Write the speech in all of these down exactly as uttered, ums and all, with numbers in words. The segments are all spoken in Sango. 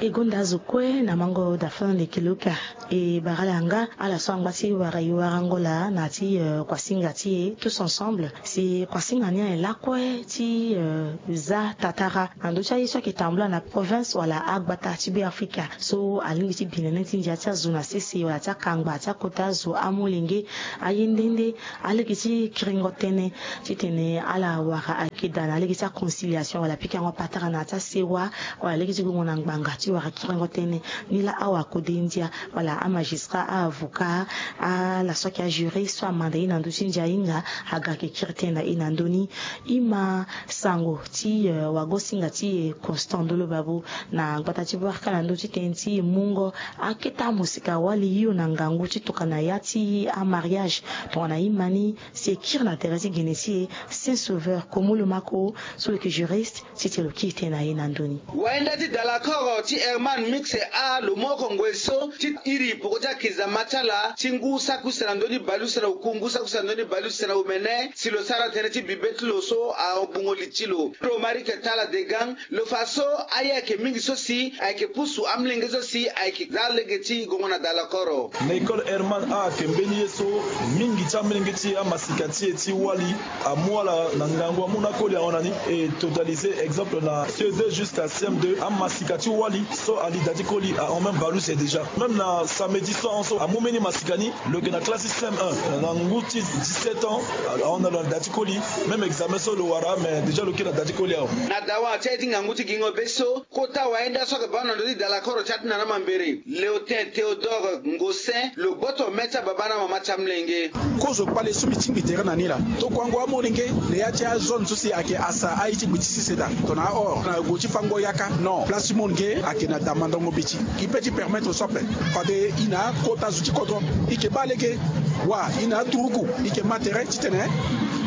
E gonda azo kue na mango dafana ndeke loka. E bara ala yanga ala so angba ti wara e warango laa na ya ti kuasinga ti e tous ensemble. Si kuasinga ni aye lakue ti za tatara na ndö ti aye so ayeke tambula na province wala agbata ti Beafrika so alingbi ti bi nene ti ndia ti azo na sese wala ti akangba ti akota zo amolenge. Aye nde nde alege ti kiringo tënë titene ala wara ayeke daa na lege ti aconciliation wala pikango patara na ya ti asewa wala lege ti gongo na ngbanga ti wara kiringo tënë. Ni laa awa kode ndia wala amagistrat, aavocat, ala so ayeke ajuriste so amanda e na ndö ti ndia ahinga aga ayeke kiri tënë na e na ndö ni. E ma sango ti wagosinga ti e Constant Ndolo Babo na gbata ti Bouarka na ndö ti tënë ti e mungo akete amosika wali hio na ngangu ti tokana ya ti amariage. Tongana e ma ni si e kiri na tere ti gene ti e Saint Sauveur Komolo Mako so lo yeke juriste. Ti tene lo kiri tënë na e na ndö ni. Wainda ti dalakoro ti Herman Mixe a lo moko ngoi so ti iri poko ti akizama ti ala ti ngu saki use na ndö ni bale use na oku ngu saki use na ndö ni bale use na omene si lo sara tënë ti bibe ti lo so agbungo li ti lo. Romaric Tala Degang lo fa so aye ayeke mingi so si ayeke pusu amolenge so si ayeke za lege ti gongo na dalakoro. Na école Herman a ayeke mbeni ye so mingi ti amolenge ti amasika ti e ti wali amu ala na ngangu amu na akoli ahon na ni. E totalisé exemple na C E deux jusqu'à C M deux amasika ti wali so ali da ti koli ahon même bale use déjà. Même na samedi so ahon so amu mbeni masika ni lo yeke na classe ti C M un na ngu ti dix-sept ans ahon na lo na da ti koli. Même examen so lo wara mais déjà lo kiri na da ti koli ahon. Na dawa ti aye ti ngangu ti gingo be so kota wainda so ayeke baa na ndö ti dalakoro ti atinana mambere Léotin Théodore Ngosin lo gboto me ti ababa na amama ti amolenge. Kozo kpale so mbi tingbi tere na ni laa tokuango amolenge na ya ti azone so si ayeke asa aye ti gbi ti sese daa tongana ahor na gue ti fango yaka. Non, place ti molenge ayeke na damandango mbeti. E peut ti permettre so ape fade e na akota zo ti kodro e yeke baa lege. Wa e na aturugu e yeke ma tere titene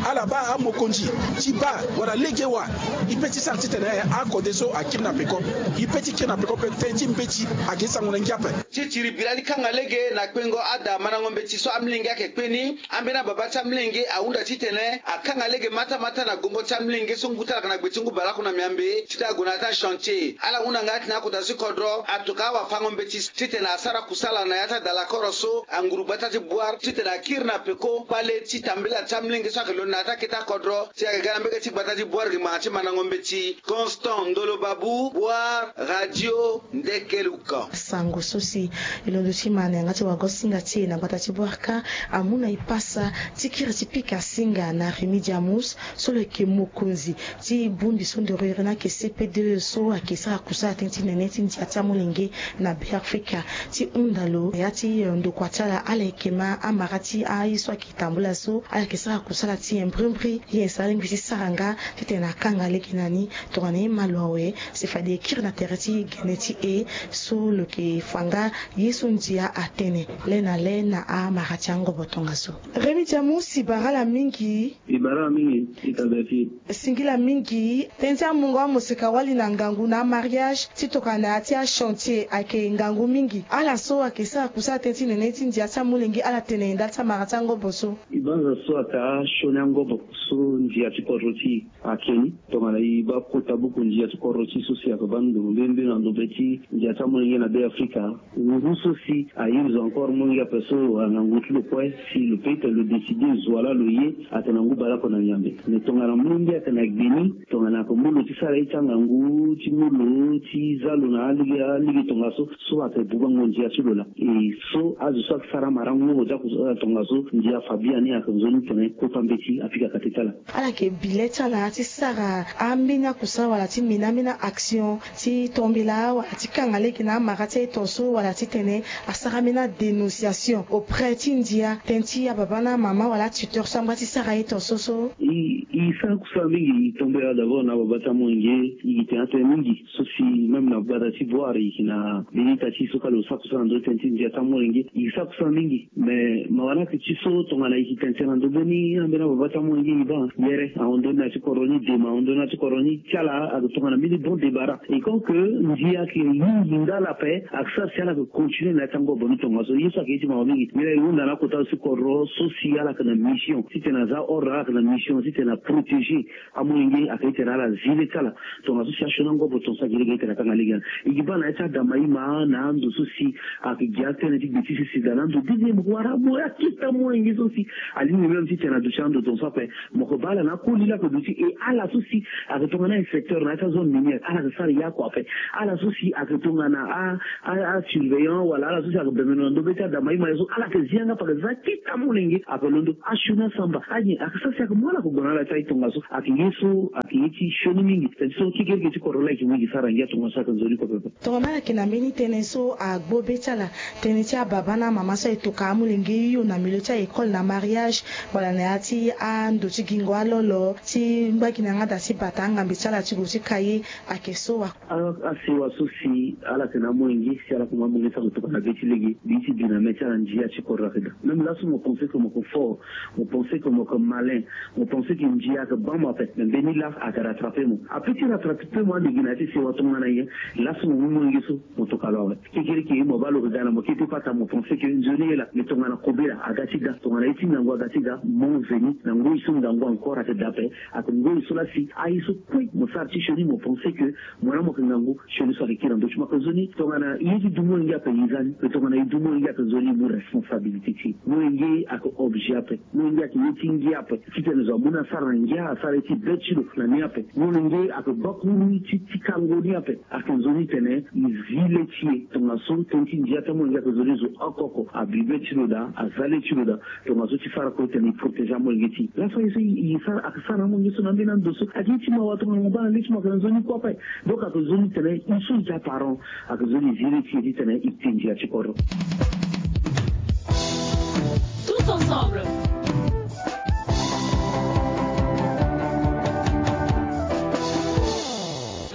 ala baa amokonzi ti baa wala lege wa. E peut ti sara titene akode so akiri na peko. E peut ti kiri na peko pe tënë ti mbeti ayeke sango na ngia ape. Ti tiri bira ti kanga lege na kpengo ada mandango mbeti so amolenge ayeke kpe ni. Ambeni ababa ti amolenge ahunda titene akanga lege matamata na gongo ti amolenge so ngu ti ala yeke na gbe ti ngu baleoko na miambe titene ague na ya ti achantier. Ala hunda nga atene akota ti kodro atoka awafango mbeti titene asara kusala na ya ti adalakoro so anguru gbata ti Bouar titene akiri na peko kpale ti tambela ti amolenge so ayeke londo na ya ti akete akodro si ayeke ga na mbege ti gbata ti Bouar gi ngbanga ti mandango mbeti. Constant Ndolo Babu, Bouar, Radio Ndekeluka. Sango so si e londo ti ma na yanga ti wagosinga ti e na gbata ti Bouarka amu na e pasa ti kiri ti pika singa na Rémy Diamus so lo yeke mokonzi ti bongbi so ndoro iri ni ayeke C P deux so ayeke sara kusala tënë ti nene ti ndia ti amolenge na Beafrika. Ti hunda lo na ya ti ndokua ti ala ala yeke ma amara ti aye so ayeke tambula so ala yeke sara kusala ti e mbrimbri. Ye so alingbi ti sara nga titene akanga lege na ni. Tongana e ma lo awe si fade e kiri na tere ti gene ti e so lo yeke fa nga ye so ndia atene le na le na amara ti angobo tongaso. Rémy Diamus, e bara ala mingi. E bara ala mingi. E ta be ti e. Singila mingi tënë ti amungo amosika wali na ngangu na amariage ti tokana na ya ti achantier ayeke ngangu mingi. Ala so ayeke sara kusala tënë ti nene ti ndia ti amolenge ala tene ndali ti amara ti angobo so. E banza so ata sioni angobo so ndia ti kodro ti e ake ni. Tongana e baa kota buku ndia ti kodro ti e so si ayeke baa ndo mbeni mbeni na ndo be ti ndia ti amolenge na Beafrika. Ngu so si a use encore molenge ape so angangu ti lo kue si lo peut ti lo décider zo ala lo ye atene na ngu baleoko na miambe. Mais tongana molenge ayeke na gbe ni tongana ayeke mu lo ti sara ye ti angangu ti mu lo ti za lo na alege alege tongaso so ayeke bubango ndia ti lo laa. E so azo so ayeke sara marango ti akusala tongaso ndia fa biani ayeke nzoni tene kota mbeti apika kate ti ala. Ala yeke bi le ti ala ti sara ambeni akusala wala ti mena ambeni action ti tombela wala ti kanga lege na amara ti aye tongaso wala titene asara ambeni adénonciation auprès ti ndia tënë ti ababa na amama wala atuteur so angba ti sara aye tongaso so. E e sara kusala mingi e tombela d'abord na ababa ti amolenge e gi tene atene mingi so si même na gbata ti Bouar e gi na mbeni ita ti e so kâ lo sara kusala na ndö ti tënë ti ndia ti amolenge e gi sara kusala mingi. Mais mawa ni ayeke ti so tongana e gi tene tene na ndö mbeni ambeni ababa Ti amolenge ni baa yere ahon ndoni na ti kodro ni, dema ahon ndoni na ti kodro ni. Ti ala ayeke tongana mbeni bon débarras. Et comme que ndia ayeke mingi nga ala ape, ayeke sara si ala yeke continuer na ya ti angobo ni tongaso. Ye so ayeke ye ti mawa mingi. Nilaa e hunda na akota zo ti kodro so si ala yeke na mission titene aza ordre, ala yeke na mission titene aprotéger amolenge, ayeke titene ala zi le ti ala tongaso si asioni angobo tongaso ayeke lege titene akanga lege. E gi baa na ya ti adama ima na ando so si ayeke gi atënë ti gbe ti sese daa na ando. Deuxième, mo wara mo akita amolenge so si alingbi même titene aduti ando tongaso ape. Mo yeke baa ala na akoli laa ayeke duti, e ala so si ayeke tongana inspecteur na ya ti azone minière, ala yeke sara ye oko ape. Ala so si ayeke tongana a, a, asurveillant, wala ala so si ayeke bemeno na ndö be ti adama ima ye so, ala yeke zi yanga ape, ayeke za akita amolenge, ayeke londo asioni asamba. Anyen ayeke sara si ayeke mu ala, ayeke gue na ala ti aye tongaso. Ayeke ye so ayeke ye ti sioni mingi. Teti so kekereke ti kodro laa ayeke mingi sara ngia tongaso, ayeke nzoni kue pepe. Tongana ala yeke na mbeni tënë so agbo be ti ala, tënë ti ababa na amama so aye toka amolenge hio na milieu ti a-école na mariage, wala na ya ti ando ti gingo alolo ti ngba gi na yanga daa ti bata angambe ti ala ti gue ti ka ye, ayeke so wa. A, asewa so si ala yeke na amolenge, si ala yeke mu amolenge so ayeke toka na be ti lege, mbi ye ti bi na mê ti ala, ndia ti kodro ayeke daa. Même laso mo pense que mo yeke fort, mo pense que mo yeke malin, mo pense que ndia ayeke baa mo ape, mais mbeni laa ayeke rattraper mo. Ape ti rattraper mo ande gi na ya ti sewa tongana nyen? Laso mo mu molenge so mo toka lo awe. Kekereke mo baa lo yeke ga na mo kete pata, mo pense que nzoni ye laa, mais tongana kobela aga ti ga, tongana ye ti ngangu aga ti ga, moment venu na ngoi so ngangu encore ayeke daa ape. Ayeke ngoi so laa si aye so kue mo sara ti sioni, mo pense que mo na mo yeke ngangu, sioni so ayeke kiri na ndö ti mo. Ayeke nzoni tongana ye ti du molenge ape, ye za ni. Mais tongana ye du molenge, ayeke nzoni ye mu responsabilité ti e. Molenge ayeke objet ape. Molenge ayeke ye ti ngia ape. Titene zo amu ni asara na ngia, asara ye ti be ti lo na ni ape. Molenge ayeke bakuru ti, ti kango ni ape. Ayeke nzoni tene e zi le ti e. Tongaso tënë ti ndia ti amolenge ayeke nzoni zo oko oko abi be ti lo daa, aza le ti lo daa. Tongaso ti sara kue tene e protéger amolenge ti e. Laso aye so e, e sara, ayeke sara na amolenge so na ambeni ando so ayeke ye ti mawa. Tongana mo baa na le ti mo ayeke na nzoni kue ape. Donc ayeke nzoni tene e so e ti aparent, ayeke nzoni e zi le ti e titene e te ndia ti kodro. Tous ensemble.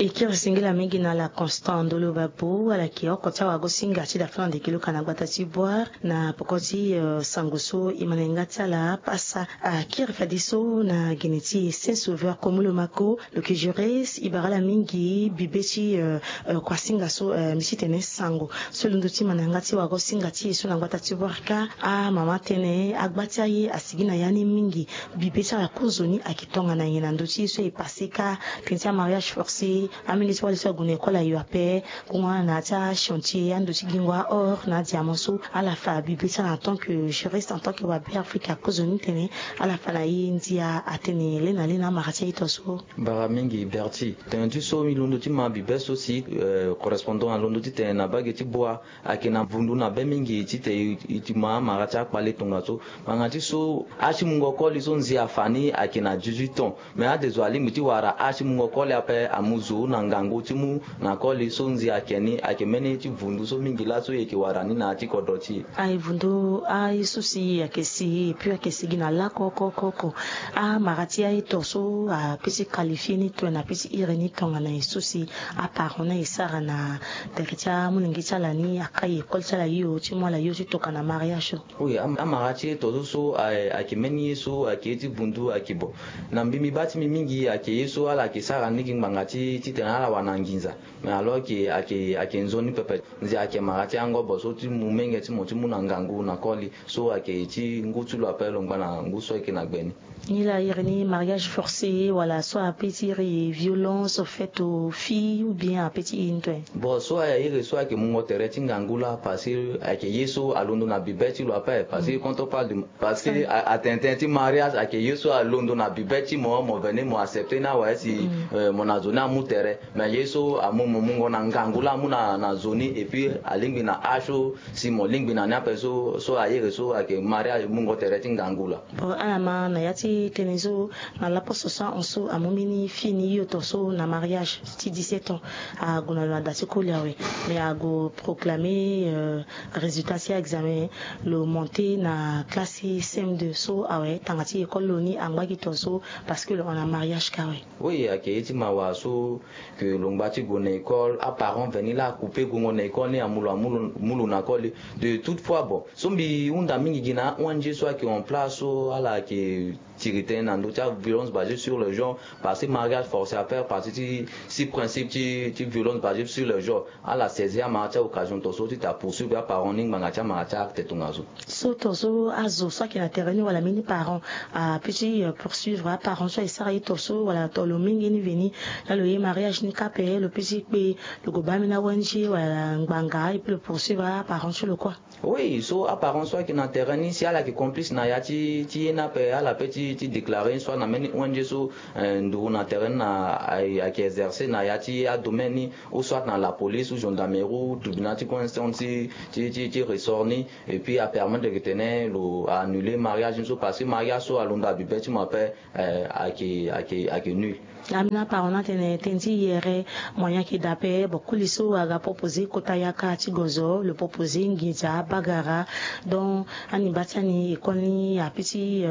E kiri singila mingi na ala Constant Ndolo Babo, ala yeke oko ti awagosinga ti da fana ndeke luka na gbata ti Bouar, na poko ti, eh, sango so e ma na yanga ti ala apasa. Akiri fadeso na gene ti e Saint Sauveur Komolo Mako, lo yeke juriste, e bara ala mingi bibe ti, eh, eh, kuasinga so, eh, mbi ti tene sango so e londo ti ma na yanga ti wagosinga ti e so na gbata ti Bouar kâ. Amama tënë, agba ti aye asigi na ya ni mingi. Bibe ti ala kozoni ayeke tongana nyen na ndö ti ye so e passé kâ, tënë ti amariage forcé, amolenge so wali so ague na école ayo ape, Kungana na ya ti achantier, ando ti gingo, a-or na adiamant so ala fa bibe ti ala en tant que juriste, en tant que wa Beafrika, kozoni tene ala fa na ye ndia atene le na le na amara ti aye to so. Bara mingi Berti. Tene ti so mbi londo ti ma bibe so si, eh, correspondant alondo ti tene na mbage ti Bouar, ayeke na vundu na be mingi titene e, e ti ma amara ti akpale tongaso. Ngbanga ti so âge ti mungo koli so ndia afa ni ayeke na dix-huit ans. Mais ade zo alingbi ti wara âge ti mungo koli ape, amu zo na ngangu ti mu na koli so ndia ayeke ni, ayeke mbeni ye ti vundu so mingi laso e yeke wara ni na ya ti kodro ti e. Aye vundu aye so si e yeke si, et puis ayeke sigi na lakue oko oko oko. Amara ti aye to so apeut ti qualifier ni to na apeut ti iri ni tongana nyen so si aparent na e sara na tere ti amolenge ti ala ni, akai école ti ala hio ti mu ala hio ti tokua na mariage so. Oui, am-, amara ti ye to so so, a, ayeke mbeni ye so ayeke ye ti vundu, ayeke bo. Na mbi, mbi baa ti mbi mingi ayeke ye so ala yeke sara ni gi ngbanga ti, titene ala wara na nginza. Mais alors que ayeke, ayeke nzoni pepe. Ndia ayeke mara ti angobo so ti mu menge ti mo ti mu na ngangu na koli. So ayeke ti ngu ti lo ape lo ngba na ngu so ayeke na gbe ni. Ni laa iri ni mariage forcé wala so apeut ti iri violence faite aux filles ou bien apeut ti iri ni to? Bon, so aye iri so ayeke mungo tere ti ngangu laa, parce que ayeke ye so alondo na bibe ti lo ape, parce que quand on parle de, parce que a, atene tënë ti mariage ayeke ye so alondo na bibe ti mo, mo veni mo accepter ni awe si, euh, mo na zo ni amu tere. Mais ye so amu mo mungo na ngangu laa amu na, na zo ni, et puis alingbi na âge so si mo lingbi na ni ape so, so aye iri so ayeke mariage mungo tere ti ngangu laa. Bon, ala ma na ya ti tënë so, na laposo so ahon so amu mbeni fini hio to so na mariage ti dix-sept ans. Ague na lo na da ti koli awe. Mais ague proclamer, euh, résultat ti examen, lo monter na classe ti C M deux so awe, tanga ti école lo ni angba gi to so, parce que lo hon na mariage kâ awe. Oui, ayeke ye ti mawa so, que lo ngba ti gue na école, aparent veni laa acouper gongo na école ni, amu lo, amu lo, mu lo na koli. De toute fois, bon, so mbi hunda mingi gi na A O N G so ayeke en place so, ala yeke tiri tënë na ndö ti aviolence basée sur le genre, parce que mariage forcé ape, parce que ti principe ti violence basée sur le genre. Ala saisi amara ti aoccasion ton so ti ta poursuivre aparent ni ngbanga ti amara ti acte tongaso. So ton so azo so ayeke na tere ni wala mbeni parent ape ti poursuivre aparent so aye sara ye ton so wala ton lo mingi ni veni, na lo ye mariage ni kâ ape lo pe ti kpe, lo gue baa mbeni awenji wala ngbanga et puis lo poursuivre aparent ti lo kua. Oui, so aparent so ayeke na tere ni si ala yeke complice na ya ti ye ni ape, ala pe ti déclarer ni soit na mbeni ong so nduru na tere ni na ayeke exercer na ya ti adomaine ni, ou soit na la police ou gendarmerie ou tribunal ti grande instance ti ressort ni, et puis apermettre ke tene lo annuler mariage ni so parce que mariage so alondo abi be ti mo ape. Ayeke ayeke ayeke nul. Amina parent ni atene tënë ti yere moyen ayeke daa ape. Bon, koli so aga proposer kota yaka ti gozo, lo proposer nginza bagara. Donc ani baa ti ani école ni ape ti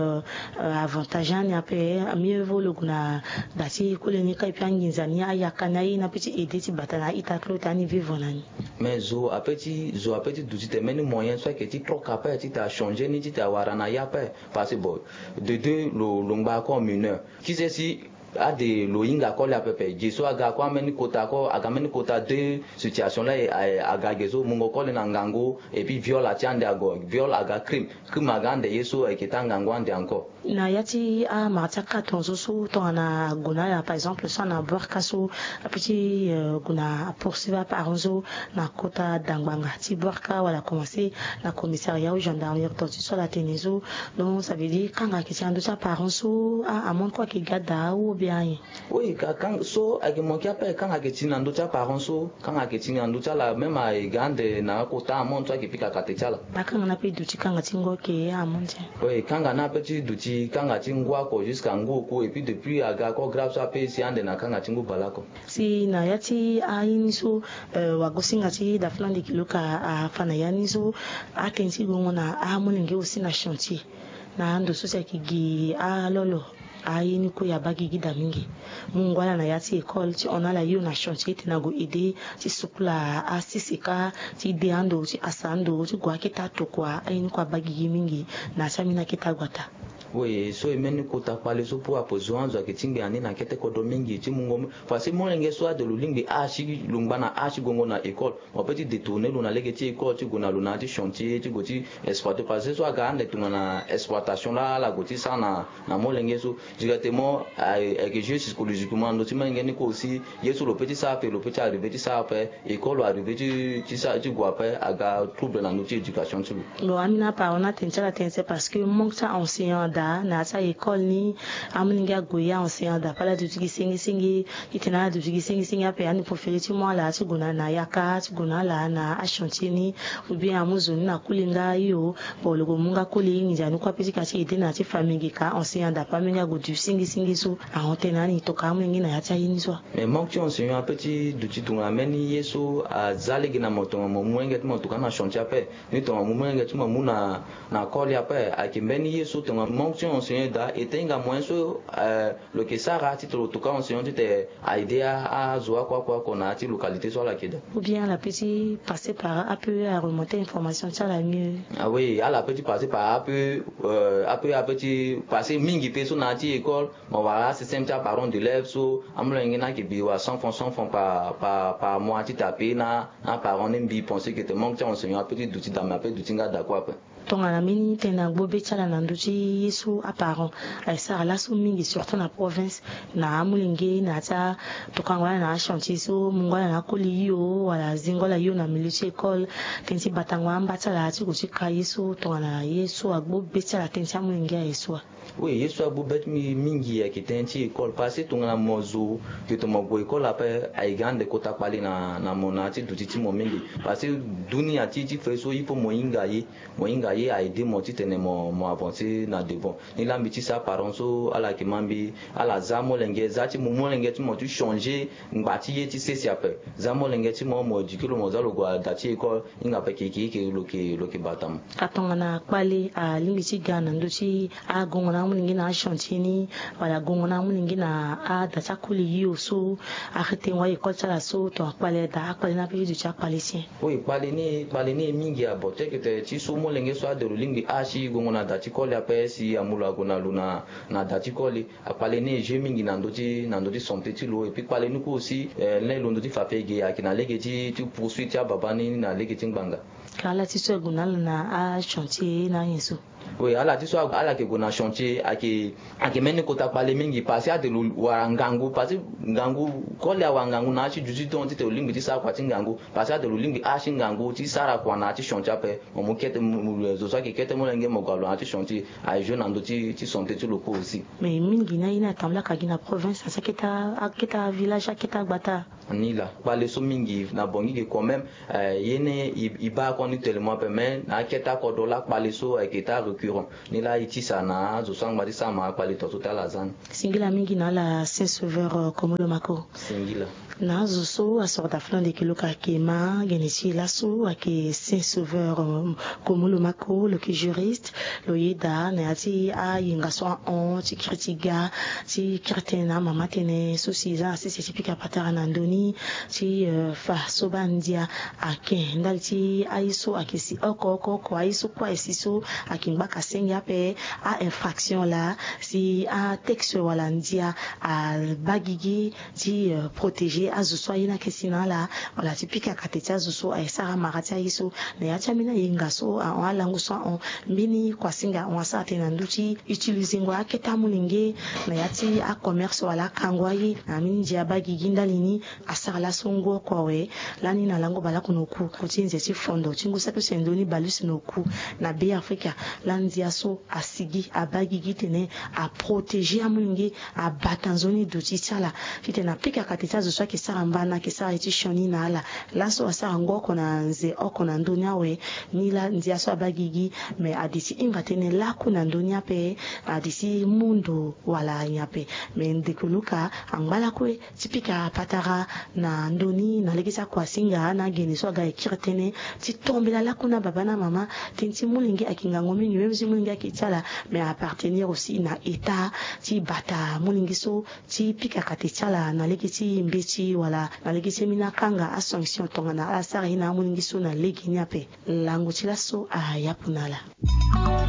avantage ani ape. Mieux vaut lo gue na da ti koli ni kâ et puis anginza ni ayaka ni aye ni ape ti aider ti bata na a-ita ti lo ti ani vivre na ni. Mais zo ape ti zo ape ti duti tene mbeni moyen so ayeke ti troke ape ti ta changer ni ti ta wara na ya ape. Parce que bon, de deux lo lo ngba kue en mineur. Qui sait si ade lo hinga koli ape pepe, ge so aga kue ambeni kota kue aga mbeni kota deux situation la. Aga ge so mungo koli na ngangu et puis viol ati ande ago, viol aga crime, crime aga ande ye so ayeke ti angangu ande encore. Na ya ti amara ti akate tongaso so tongana ague na ala par exemple so ana bwaka so ape ti gue na apoursuivre aparent so na kota dangbanga ti bwaka wala commencer na commissariat ou gendarmerie ton ti so ala tene so. Donc ça veut dire kanga ayeke ti na ndö ti aparent so amontre kue ayeke ga daa ou bien ayen? Oui, ka kanga so ayeke manke ape kanga ayeke ti na ndö ti aparent so. Kanga ayeke ti na ndö ti ala même aye ga ande na akota amontre so ayeke pika kate ti ala. Akanga ni ape duti kanga ti ngu ayeke amontre. Oui, kanga ni ape ti duti kanga ti ngu oko jusqu'à ngu oku et puis depuis aga kue grave so ape si ande na kanga ti ngu baleoko. Si na ya ti aye ni so wagosinga ti dafa lande kilo ka afa na ya ni so. Atënë ti gongo na amolenge aussi na chantier. Na ando so si ayeke gi alolo aye ni kue abaa gigi daa mingi. Mu ngu ala na ya ti école ti hon ala hio na chantier ti tene ague aider ti sukula asese kâ ti de ando ti hasa ando ti gue akete atokua aye ni kue abaa gigi mingi. Na ya ti ambeni akete ague ataa. Oui, so e mbeni kota kpale so pour apo zo anzo ayeke ti ngbe na ni na kete kodro mingi ti mungo. Parce que molenge so ade lo lingbi âge ti lo ngba na âge ti gongo na école. Mo pe ti détourner lo na lege ti école ti gue na lo na ya ti chantier ti gue ti exploiter parce que so aga ande tongana exploitation laa ala gue ti sara na molenge so. Directement ayeke jouer psychologiquement na ndö ti molenge ni kue aussi. Ye so lo pe ti sara ape lo pe ti arriver ti sara ape. École lo arriver ti ti sara ti gue ape aga trouble na ndö ti éducation ti lo. Bon, ambeni aparent ni atene ti ala tene ti parce que manque ti aenseignant ada na ya ti a-école ni. Amolenge ague ye aenseignant ada pe ala duti gi sengisenge. Ti tene ala duti gi sengisenge ape ani profere ti mu ala ti gue na na yaka ti gue na ala na achantier ni. Ou bien amu zo ni na koli nga hio. Bon, lo gue mu nga koli nginza ni kue ape ti ka ti aider na ya ti famille ge ka enseignant ada pe amolenge ague duti sengisenge so. Ahon tënë na ani tokua amolenge na ya ti aye ni so. Mais manque ti enseignant ape ti duti tongana mbeni ye so aza lege na mo tongana mo mu molenge ti mo tokua na chantier ape. Ni tongana mo mu molenge ti mo mu na na koli ape ayeke mbeni ye so tongana manque ti enseignant daa e te hinga moyen so lo yeke sara titene lo tokua enseignant titene a aider azo oko oko oko na ya ti localité so ala yeke daa. Ou bien ala pe ti passer par ape aremonter information ti ala mieux. Ah oui, ala pe ti passer par ape. Ape ape ti passer mingi pe so na ya ti école. Mo wara asystème ti aparent d'élève so amolenge ni ayeke bi wala cent francs cent francs par par par mois ti ta pe na aparent ni mbi pense que te manque ti enseignant ape ti duti daa me ape duti nga daa kue ape. Tongana mbeni tënë agbo be ti ala na ndö ti ye so aparent aye sara laso mingi surtout na province. Na amolenge na ya ti atokango ala na achantier so mungo ala na akoli hio wala zingo ala hio na milieu ti école. Tënë ti batango amba ti ala ti gue ti ka ye so tongana ye so agbo be ti ala tënë ti amolenge aye so wa. Oui, ye so agbu be ti mbi mingi ayeke tënë ti école parce que tongana mo zo ke tongana mo gue école ape ayeke ande kota kpale na na mo na ya ti duti ti mo mingi. Parce que dunia ti ti fe so il faut mo hinga ye. Mo hinga ye a aider mo titene mo mo avancer na devant. Ni laa mbi ti sara parent so ala yeke ma mbi ala za amolenge za ti mo molenge ti mo ti changer ngba ti ye ti sese ape. Za amolenge ti mo mo éduquer lo mo za lo gue ada ti école. Hinga ape keke eke lo yeke lo yeke bata mo. Atongana kpale alingbi ti ga na ndö ti agongo na amolenge na achantier ni wala agongo na amolenge na ada ti akoli hio so arrêter ngoi école ti ala so tongana kpale daa akpale ni ape ti duti akpale ti nyen? Oui, kpale ni kpale ni e mingi abo ti eke tene ti so molenge so Ade lo lingbi asi gongo na da ti koli ape si amu lo ague na lo na na da ti koli. Akpale ni e jeu mingi na ndö ti na ndö ti santé ti lo. Et puis kpale ni kue aussi, eh, lani londo ti fa fege ayeke na lege ti ti poursuite ti ababa ni na lege ti ngbanga. Ka ala ti so ague na ala na achantier na anyen so? Oui, ala ti so ala yeke gue na chantier ayeke ayeke mbeni kota kpale mingi parce que ade lo wara ngangu parce que ngangu koli awara ngangu na ya ti duti don titene lo lingbi ti sara kua ti ngangu. Parce que ade lo lingbi asi ngangu ti sara kua na ya ti chantier ape. Mo mu kete zo so ayeke kete molenge mo gue na lo na ya ti chantier. Aye jeu na ndö ti ti santé ti lo kue aussi. Mais mingi ni aye ni atambula ka gi na province asi akete akete avillage akete agbata. Ni laa kpale so mingi na bongi ge quand même. Eh, ye ni e baa koni tellement ape mais na akete akodro laa kpale so ayeke taa récurrent. Ni laa e tisa na azo so angba ti sama akpale tongaso ti ala aza ni. Singila mingi na ala Saint Sauveur, euh, Komolo Mako. Singila. Na azo so asoro dafulande ke lo ka ke ma gene ti e laso ayeke Saint Sauveur, euh, Komolo Mako, lo yeke juriste. Lo yeda na ya ti ayenga so ahon ti kiri ti ga ti kiri tënë na amama tënë so si e za na sese ti pika patara na ndö ni ti, euh, fa so baa ndia ake ndali ti aye so ayeke si oko oko oko aye so kue aye si so ayeke ngbaka senge ape. A-infraction laa si atexte wala ndia abaa gigi ti, euh, protéger azo so aye ni ayeke si na ala wala ti pika kate ti azo so aye sara mara ti aye so. Na ya ti ambeni ayenga so ahon alango so ahon mbeni kuasinga ahon asara tënë na ndö ti utiliser ngo akete amolenge na ya ti acommerce wala akango aye na ambeni ndia abaa gigi ndali ni. Asara laso ngu oko awe. Lani na lango baleoko na oku ti nze ti fondo ti ngu saki use ndoni baleuse na oku na Be Afrika. Lani ndia so asigi abaa gigi titene aprotéger amolenge abata nzoni duti ti ala titene apika kate ti azo so ayeke sara mbana ayeke sara ye ti sioni na ala. Laso asara ngu oko na nze oko na ndö ni awe. Ni laa ndia so abaa gigi me ade ti hinga tënë lakue na ndö ni ape. Ade ti mu ndo wala nyen ape. Me ndeko Luka angba lakue ti pika patara na ndö ni na lege ti akuasinga na agene so aga e kiri tënë ti tombela lakue na baba na mama. Tënë ti molenge ayeke ngangu mingi même si molenge ayeke ti ala me a appartenir aussi na état ti bata molenge so ti pika kate ti ala na lege ti mbeti wala na lege ti ambeni akanga asanction tongana ala sara ye na amolenge so na lege ni ape. Lango ti laso ayapu na ala.